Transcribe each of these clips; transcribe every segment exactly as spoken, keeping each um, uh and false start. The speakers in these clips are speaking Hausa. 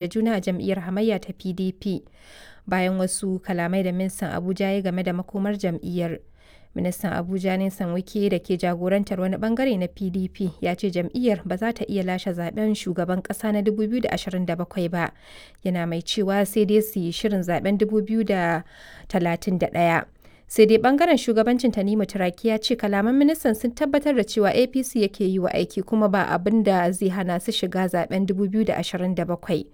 Da juna a jam'iyyar hamayya ta P D P bayan wasu kalamai da ministan Abuja ya yi game da makomar jam'iyyar. Ministan Abuja Nyesom Wike da ke jagorantar wani bangare na P D P ya ce jam'iyyar ba za ta iya lashe zaben shugaban kasa na dubu biyu da ashirin da bakwai ba, yana mai cewa sai dai su yi shirin zaben dubu biyu da talatin da ɗaya. Sai dai bangaren shugabancin Tanimu Turaki ya ce kalaman ministan sun tabbatar da cewa A P C yake yi wa aiki kuma ba abin da zai hana su shiga zaben dubu biyu da ashirin da bakwai.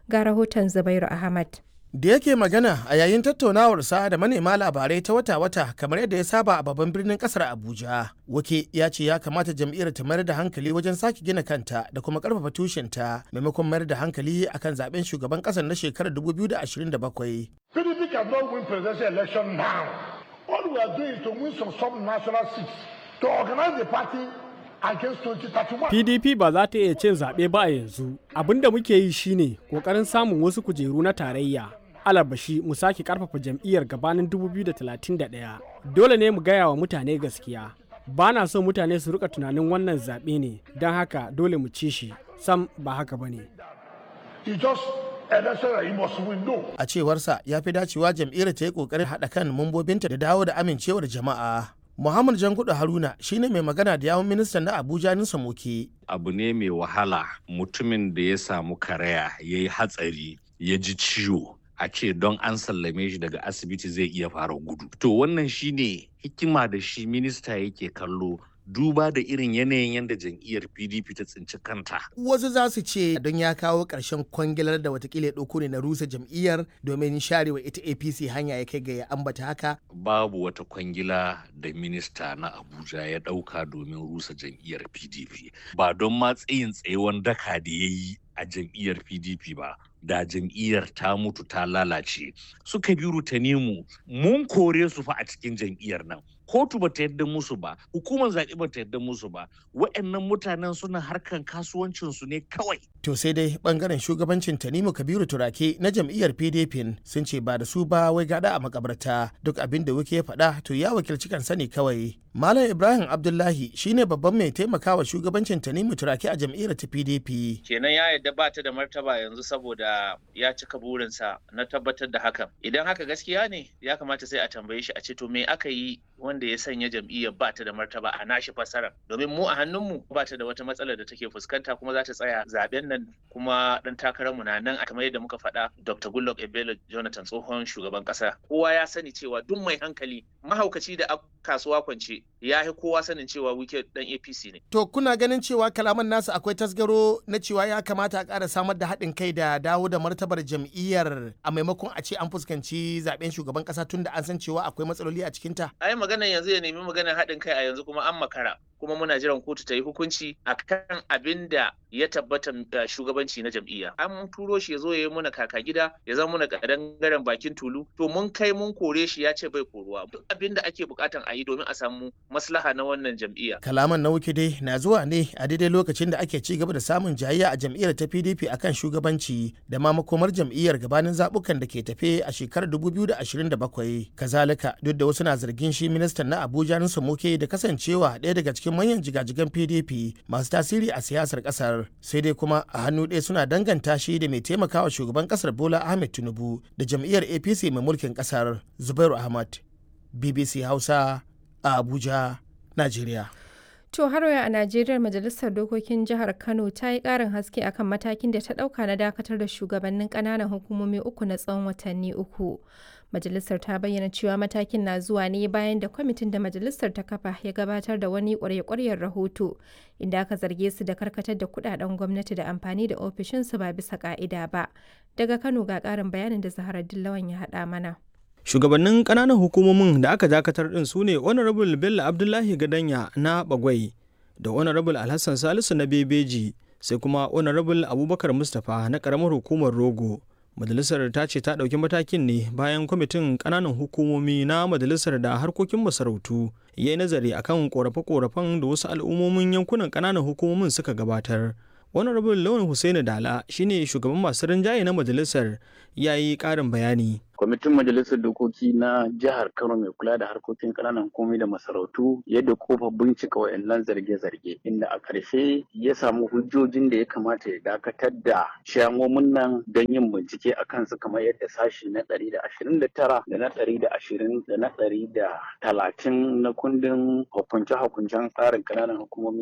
Ga rahoton Zubairu Ahmad. Da yake magana a yayin tattaunawarsa da manema labarai ta wata-wata kamar yadda ya saba a babban birnin kasar Abuja, Wike ya ce ya kamata jam'iyyar ta mayar da hankali wajen sake gina kanta da kuma karfafa tushenta maimakon mayar da hankali akan zaben shugaban kasar na shekarar dubu biyu da ashirin da bakwai. P D P cannot win presidential election now. All we are doing is to win some sub-national seats to organize the party against twenty thirty-one. P D P ba za ta iya cin zaɓe ba a yanzu. Abin da muke yi shine ƙoƙarin samun wasu kujeru na tarayya. Alabashi mu sake ƙarfafa jam'iyyar gabanin dubu biyu da talatin da ɗaya. Dole ne mu gaya wa mutane gaskiya. Ba na so mutane su rika tunanin wannan zaɓe ne, don haka dole mu ci shi. Sam, ba haka ba ne. It's just election that you must win. No. A cewarsa, ya fi dacewa jam'iyyar ta yi kokarin haɗa kan mambobinta da dawo da amincewar jama'a. Muhammad Jangudu Haruna shine mai magana da yawun ministan na Abuja Nyesom Wike. Abu ne mai wahala mutumin da ya samu karaya, ya yi hatsari, ya ji ciwo, a ce don an sallame shi daga asibiti zai iya fara gudu. To, wannan shine hikima da shi minista yake kallo, duba da irin yanayin yadda jam'iyyar P D P ta tsinci kanta. Wasu za su ce don ya kawo ƙarshen kwangilar da watakila ya ɗauko ne na rusa jam'iyyar domin sharewa ita A P C hanya ya kai ga ya ambata haka. Babu wata kwangila da minista na Abuja ya ɗauka domin rusa jam'iyyar P D P. Ba don ma tsayin tsayewan daka da ya yi a jam'iyyar P D P ba, da jam'iyyar ta mutu ta lalace. Suka biyu Tanimu, mun kore su fa a cikin jam'iyyar nan. Kotu ba ta yarda musu ba, hukumar zaɓe ba ta yarda musu ba. Wa'annan mutanen suna harkan kasuwancinsu ne kawai. To, sai dai bangaren shugabancin Tanimu Kabiru Turake na jam'iyyar P D P sun ce ba da su ba wai gada a makabarta, duk abin da Wike ya faɗa to ya wakilci kansa ne kawai. Malam Ibrahim Abdullahi shine babban mai taimakawa shugabancin Tanimu Turake a jam'iyyar ta P D P. Kenan ya yarda ba ta da martaba yanzu saboda ya cika burinsa na tabbatar da hakan. Idan haka gaskiya ne, ya kamata sai a tambaye shi a ce, to, me aka yi wanda ya sanya jam'iyyar ba ta da martaba a nashi fassarar? Domin mu a hannunmu ba ta da wata matsala da take fuskanta, kuma za ta tsaya zaben nan, kuma dan takararmu na nan kamar yadda muka faɗa, Doctor Goodluck Ebele Jonathan, tsohon shugaban ƙasa. Kowa ya sani cewa duk mai hankali, mahaukaci da kasuwa kwance ya fi kowa sanin cewa Wike dan A P C ne. To, kuna ganin cewa kalaman nasu akwai tasgaro na cewa ya kamata a ƙara samar da haɗin kai da dawo da martabar jam'iyyar a maimakon a ce an fuskanci zaben shugaban ƙasa, tun da an san cewa akwai matsaloli a cikinta? Ai maganar yanzu ya nemi maganar haɗin kai a yanzu kuma an makara. Kuma muna jiran kotu ta yi hukunci akan abin da ya tabbata shugabanci na jam'iyya. An turo shi ya zo ya yi muna kaka gida, ya zama muna kadangaren bakin tulu. To, mun kai mun kore shi, ya ce bai koruwa. Duk abin da ake bukatan a yi domin a samu maslaha na wannan jam'iyya. Kalaman na Wike dai na zuwa ne a daidai lokacin da ake ci gaba da samun jayayya a jam'iyyar ta P D P akan shugabanci da ma makomar jam'iyyar gabanin zabukan da ke tafe a shekarar dubu biyu da ashirin da bakwai. Kazalika, duk da wasu na zargin shi ministan na Abuja Nyesom Wike da kasancewa ɗaya daga cikin manyan jigajigan P D P masu tasiri a siyasar kasar, sai dai kuma a hannu ɗaya suna danganta shi da mai taimakawa shugaban kasar Bola Ahmed Tinubu da jam'iyyar A P C mai mulkin kasar. Zubairu Ahmad, B B C Hausa, a Abuja, Najeriya. To, har a Najeriya, Majalisar Dokokin Jihar Kano ta yi ƙarin haske akan matakin da ta ɗauka na dakatar da shugabannin ƙananan hukumomi uku na tsawon watanni uku. Majalisar ta bayyana cewa matakin na zuwa ne bayan da kwamitin da majalisar ta kafa ya gabatar da wani ƙwarya-ƙwaryar rahoto inda aka zarge su da karkatar da kuɗaɗen gwamnati da amfani da ofishinsu ba bisa ƙa'ida ba. Daga Kano ga ƙarin bayanin da Zaharaddin Lawan ya haɗa mana. Shugabannin ƙananan hukumomin da aka dakatar ɗin su ne Honorable Bello Abdullahi Gadanya na Bagwai da Honorable Alhassan Salisu na Bebeji, sai kuma Honorable Abubakar Mustapha na ƙaramar hukumar Rogo. Majalisar ta ce ta ɗauki matakin ne bayan kwamitin ƙananan hukumomi na majalisar da harkokin masarautu ya yi nazari akan ƙorafe-ƙorafen da wasu al'ummomin yankunan ƙananan hukumomin suka gabatar. Honorable Lawan Hussaini Dala shine shugaban masu rinjaye na majalisar, ya yi ƙarin bayani. Kwamitin majalisar dokoki na jihar Kano mai kula da harkokin ƙananan hukumomi da masarautu yadda kofa bincika wayannan zarge-zarge, inda a ƙarshe ya samu hujjojin da ya kamata ya dakatar da ciyamomin nan don yin bincike a kansu, kamar yadda sashi na ɗari da ashirin da tara da na ɗari da ashirin da na ɗari da talatin na kundin hukunce-hukuncen tsarin ƙananan hukumomi